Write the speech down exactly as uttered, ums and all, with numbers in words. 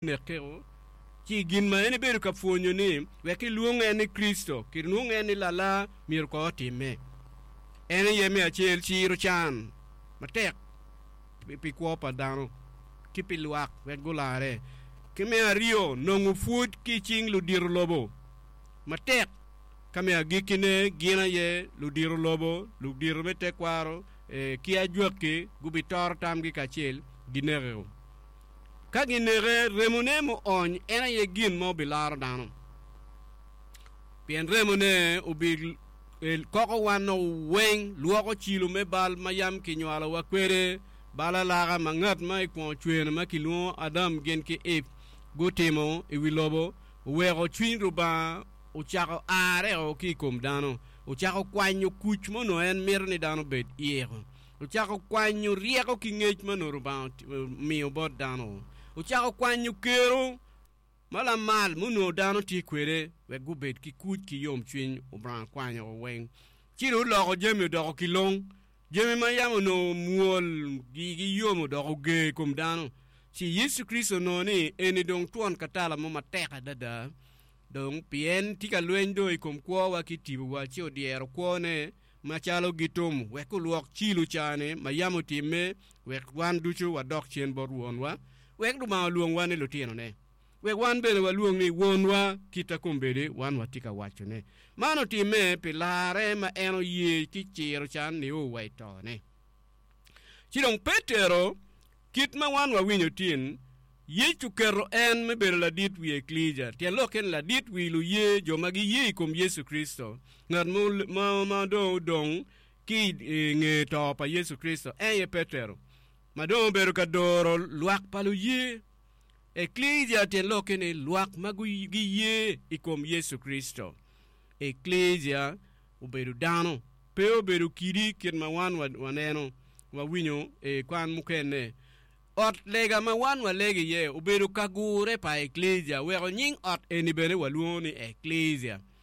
Nekeo ci gin ma en ebedo ka pwonyo ni wek kilwong en ni Kricito, kilwong en ni Lala, myero ko otimme. En aye me acel ciro can matek pi kwo pa dano ki pi lwak wek gularre. Ki me aryo, nongo pwod ki i cing ludito lobo matek. Ka me agikkine, gin aye ludito lobo, ludito me tekwaro ki ajwakki gubitoro tamgi kacel, ginekeo. Ka gineke, remone muony en aye gin ma obilaro dano, pien remone obikoko wan weng, lwoko cilo me bal ma yam kinywalowa kwede, bal alaka ma ngat ma i kwongo cweno ma kilwongo Adam gin ki Eve gutimo i wi lobo, oweko cwiny Lubanga ocako areo ki i kom dano, ocako kwanyo kuc ma onongo en mito ni dano obed iyeko. Ocako kwanyo ryeko ki ngec ma onongo Lubanga omiyo bot dano. Ocako kwanyo kero ma lamal ma onongo dano tye kwede wek gubed ki kuc ki yomcwiny. Lubanga kwanyo weng. Ci dong oloko jami odoko kilong. Jami ma yam onongo mwol igi yom odoko ger i kom dano. Ci Yecu Kricito onongo ni eni dong twon katala mo matek adada. Dong pien tye ka lweny dong i kom kwowa ki tibowa, ci odyero kwone macalo gitum wek olwok cilo ca-ni ma yam otimme, wek wan ducu wadok cen bot Wonwa, wek Lubanga olwongwa ni lutinone, wek wan bene walwong ni Wonwa, kita kombeddi wan watye ka wacone. Man otimme pi larre ma en oye ki ciro can nio wa i tone. Ci dong Petero, kit ma wan wawinyo tin, Yecu oketo en me bedo ladit wi Eklesia, tyen lokke ni ladit wi luye, jo ma giye i kom Yecu Kricito. Ngat ma dong odong ki i nge to pa Yecu Kricito en aye Petero, ma dong obedo ka doro lwak pa luye. Eklesia tyen lokke ni lwak ma giye i kom Yecu Kricito. Eklesia obedo dano, pe obedo kidi kit ma wan waneno, wawinyo i kwan mukene. Ot lega ma wan walego iye obedo ka gure pa Eklesia, weko nying ot eni bene walwongo ni Eklesia.